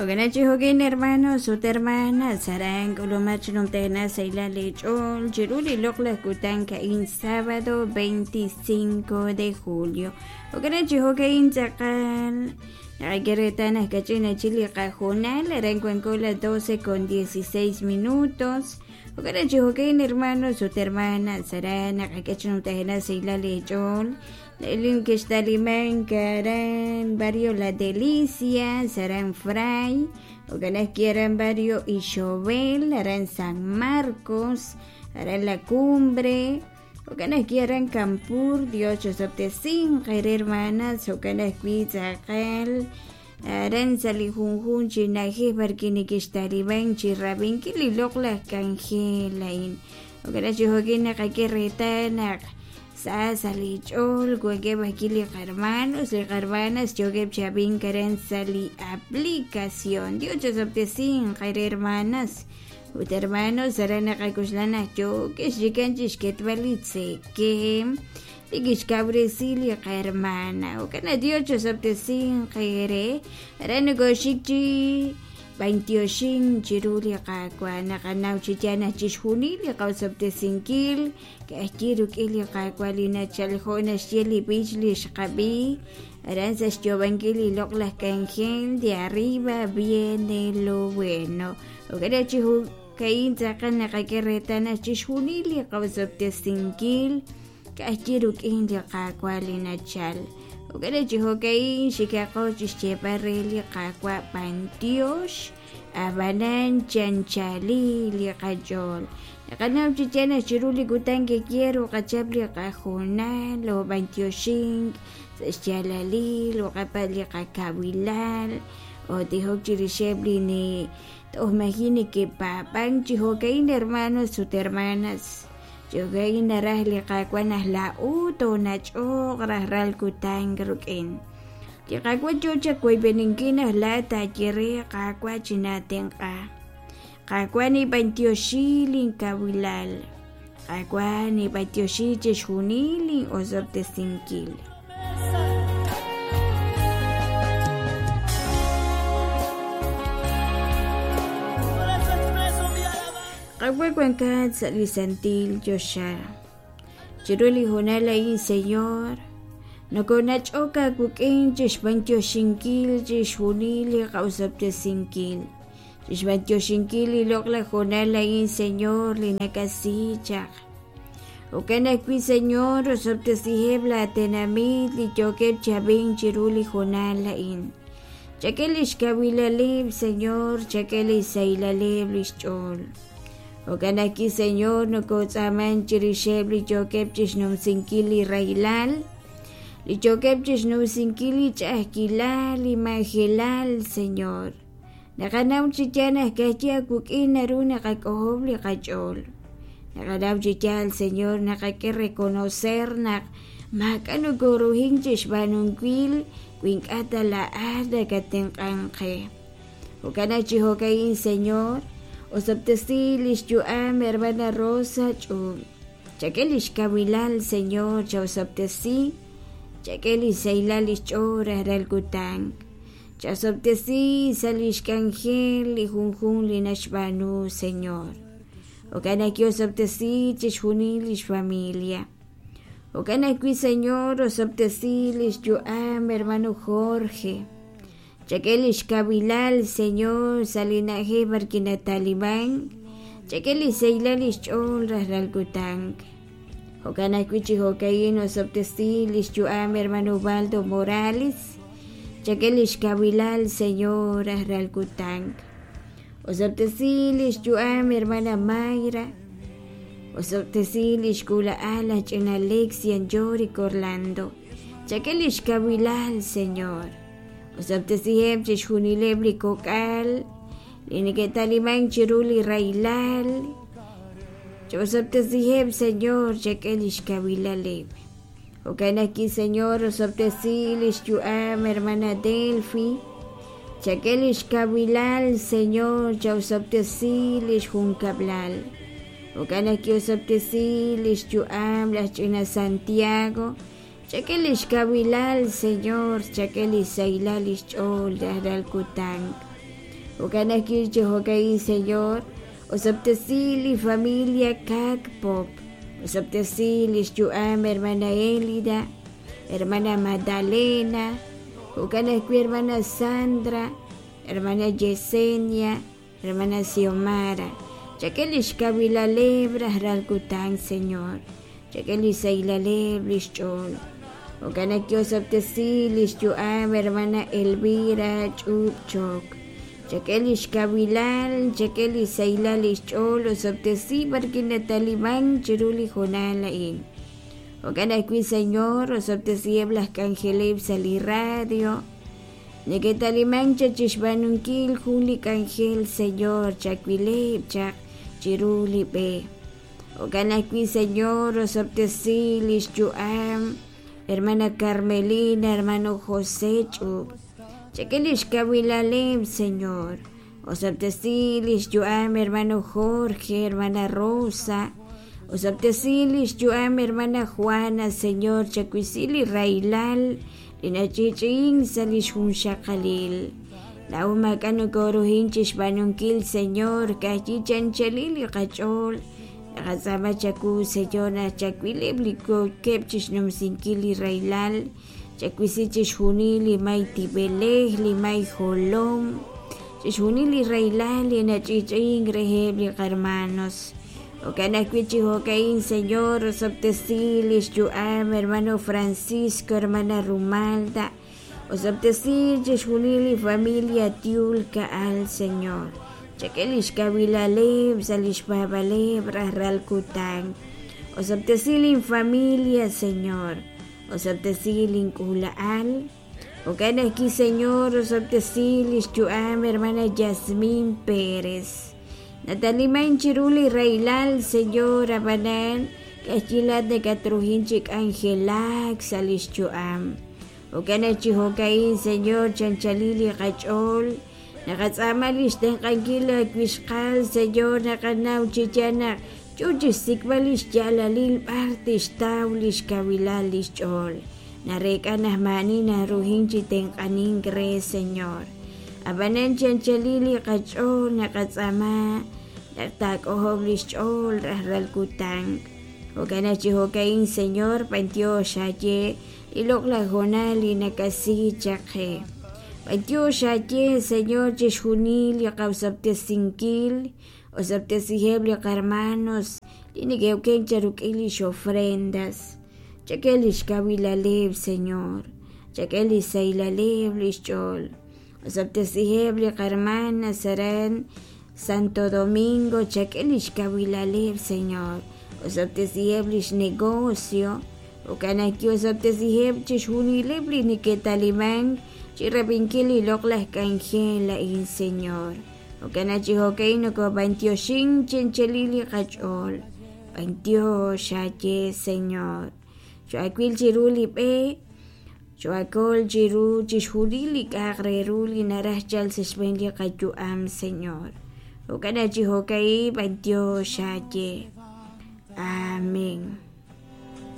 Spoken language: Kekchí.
Jo'kan chi jo'kin hermanos ut hermanas aran k'ulumach numtena sahilal leech'ool chiru li loq'laj kutan a'in sábado 25 de julio. Jo'kan chi jo'kin tz'aqal naqak'e reetal naq kach'in chi li qahoonal aran wanko las 12 con 16 minutos. Jo'kan chi jo'kin hermanos ut hermanas aran naqak'e chi numtena sahilal leech'ool Lin kixtaliman aran barrio La Delicia, Saran Fray, jo'kan ajwi' aran barrio Ixobel, aran San Marcos, aran La Cumbre, jo'kan ajwi' aran Campur, Dios chosob'tesinq eere hermanas, jo'kan ajwi' tz'aqal aran sa' li junjunq chi na'ajej b'arwi' nekextaliman chi rab'inkil li loq'laj k'anjel a'in. Jo'kan chi jo'kin naqak'e reetal naq sa sa' li ch'ool wankeb' ajwi' li qarmanos li qarmanas yookeb' chi ab'ink aran sa' li aplicación. Dios chosob'tesinq eere hermanas ut hermanos aran naqak'oxla naq yookex chikan chixketb'al li tzekeem li kixkawresi li qahermana. Jo'kan naq Dios chosob'tesinq eere aran nokoxik chi b'antioxink chiru li Qaawa' naqanaw chi yaal naq chixjunil li qaosob'tesinkil ka'ajwi' rik'in li Qaawa' li nachal jo' naxye li b'ich li xqab'i aran sa' xyoob'ankil li loq'laj k'anjel de arriba viene lo bueno. Jo'kan chi jo'ka'in tz'aqal naqak'e reetal naq chixjunil li qaosob'tesinkil ka'ajwi' rik'in li Qaawa' li nachal. Jo'kan chi jo'ka'in xikaqo chixyeeb'al re li Qaawa' b'antiox ab'anan chanchali li qach'ool. Naqanaw chi yaal naq chiru li kutan ke'yeer uqachap li qahoonal o b'antioxink sa' xyaalalil uqapa' li qakawilal o tijok chirixeb' li ni toj maji' neke'paab'ank chi jo'ka'in hermanos ut hermanas. Chi jo'ka'in naraj li Qaawa' naq laa'o toonach'oq rajlal kutan rik'in. Li Qaawa' yoo chawoyb'eninkil naq laa'at taaye re, Qaawa' chinaatenq'a. Qaawa' nib'antioxi linkawilal. Qaawa' nib'antioxi chixjunil lin'osob'tesinkil. Qaawa' wankat sa' li santil choxa. Chiru li hoonal a'in, Señor, nokonach'ok aawik'in chixb'antioxinkil chixjunil li qa'osob'tesinkil. Chixb'antioxinkil li loq'laj hoonal a'in, Señor, li nakasi chaq. Jo'kan ajwi', Señor, osob'tesiheb' laa tenamit li yookeb' chi ab'ink chiru li hoonal a'in. Chak'e lix kawilaleb', Señor, chak'e lix sahilaleb' lix ch'ool. Jo'kan ajwi', Señor, nokotz'aaman chirixeb' li yookeb' chixnumsinkil li rahilal, li yookeb' chixnumsinkil li ch'a'ajkilal, li majelal, Señor. Naqanaw chi yaal naq ka'ajwi' aawik'in naru naqak'ojob' li qach'ool. Naqanaw chi yaal, Señor, naqak'e reconocer naq maak'a' nokoruhink chixb'aanunkil wi ink'a' ta laa'at nakatenq'ank qe. Jo'kan naq chi jo'ka'in, Señor, osob'tesi lix yu'am hermana Rosa Ch'uub'. Chak'e lix kawilal, Señor, chaosob'tesi, chak'e lix sahilal lix ch'ool rajlal kutan. Chasob'tesi sa' lix k'anjel li junjunq li naxb'aanu, Señor. Jo'kan ajwi' osob'tesi chixjunil lix familia. Jo'kan ajwi', Señor, osob'tesi lix yu'am hermano Jorge. Chak'e lix kawilal, Señor, sa' li na'ajej b'arwi' nataliman. Chak'e lix sahilal lix ch'ool rajlal kutan. Jo'kan ajwi' chi jo'ka'in osob'tesi lix yu'am hermano Ubaldo Morales. Chak'e lix kawilal, Señor, rajlal kutan. Osob'tesi lix yu'am hermana Mayra. Osob'tesi lix k'uula'al laj ch'ina Lexian Yorick Orlando. Chak'e lix kawilal, Señor. Osob'tesiheb' chixjunileb' li kok'al li neke'talimank chiru li rahilal. Ch'osob'tesiheb', Señor, chak'e lix kawilaleb'. Jo'kan ajwi', Señor, osob'tesi lix yu'am hermana Delphi. Chak'e lix kawilal, Señor, chaosob'tesi lix junkab'lal. Jo'kan ajwi' osob'tesi lix yu'am laj ch'ina Santiago. Chak'e lix kawilal, Señor, chak'e lix sahilal lix ch'ool rajlal kutan. Jo'kan ajwi' chi jo'ka'in, Señor, osob'tesi li familia Cac Pop, osob'tesi lix yu'am hermana Elida, hermana Magdalena, jo'kan ajwi' hermana Sandra, hermana Yesenia, hermana Xiomara. Chak'e lix kawilaleb' rajlal kutan, Señor. Chak'e li sahilaleb' lix ch'ool. Jo'kan naq osob'tesi lix yu'am hermana Elvira Ch'up Chok. Chak'e lix kawilal, chak'e li sahilal lix ch'ool, osob'tesi b'arwi' nataliman chiru li hoonal a'in. Jo'kan ajwi', Señor, osob'tesiheb' laj k'anjeleb' sa' li radio. Neke'talimank chaq chi xb'aanunkil jun li k'anjel, Señor, chawileb' chaq chiru li b'e. Jo'kan ajwi', Señor, osob'tesi lix yu'am hermana Carmelina, hermano José Ch'up. Chak'e lix kawilaleb', Señor. Osob'tesi lix yu'am hermano Jorge, hermana Rosa. Osob'tesi lix yu'am hermana Juana, Señor, chawisi li rahilal li nach'i'ch'i'ink sa' lix junxaqalil. Laa'o maak'a' nokoruhin chixb'aanunkil, Señor, ka'ajwi' chi anchalil li qach'ool. Naqatz'aama chawu, Señor, naq chawileb' li yookeb' chixnumsinkil li rahilal, chawisi chixjunil li may tib'elej, li may jolom, chixjunil li rahilal li nach'i'ch'i'ink reheb' li qarmanos. Jo'kan ajwi' chi jo'ka'in, Señor, osob'tesi lix yu'am hermano Francisco, hermana Rumalda, osob'tesi chixjunil li familia Tiul Ka'al, Señor. Chak'e lix kawilaleb' sa' lix paab'aaleb' rajlal kutan. Osob'tesi lin familia, Señor. Osob'tesi lin k'uula'al. Jo'kan ajwi', Señor, osob'tesi lix yu'am hermana Yasmin Pérez. Nataliman chiru li rahilal, Señor, ab'anan ka'ajwi' laa'at nakatruhin chi k'anjelak sa' lix yu'am. Jo'kan naq chi jo'ka'in, Señor, chanchalil li qach'ool, naqatz'aama lix tenq'ankil laawixqal, Señor, naqanaw chi yaal naq yo chixsik'b'al lix yaalalil b'ar tixtaw lix kawilal lix ch'ool. Nareek'a naq maa'ani naruhin chi tenq'anink re, Señor. Ab'anan chi anchalil li qach'ool naqatz'aama naq taak'ojob' lix ch'ool rajlal kutan. Jo'kan naq chi jo'ka'in, Señor, b'antiox aaye li loq'laj hoonal li nakasi chaq qe. B'antiox aaye, Señor, chixjunil li qaosob'tesinkil, osob'tesiheb' li qarmanos li neke'okenk charuk'il lix ofrendas. Chak'e lix kawilaleb', Señor. Chak'e lix sahilaleb' lix ch'ool. Osob'tesiheb' li qarmanas aran Santo Domingo, chak'e lix kawilaleb', Señor. Osob'tesiheb' lix negocio. Jo'kan ajwi' osob'tesiheb' chixjunileb' li neke'talimank chi rab'inkil li loq'laj k'anjel a'in, Señor. Jo'kan naq chi jo'ka'in nokob'antioxink chi anchalil li qach'ool. B'antiox aaye, Señor. Cho'awil chiru li b'e, cho'akol chiru chixjunil li k'a'aq re ru li naraj chalk sa' xb'een li qayu'am, Señor. Jo'kan naq chi jo'ka'in b'antiox aaye. Amén.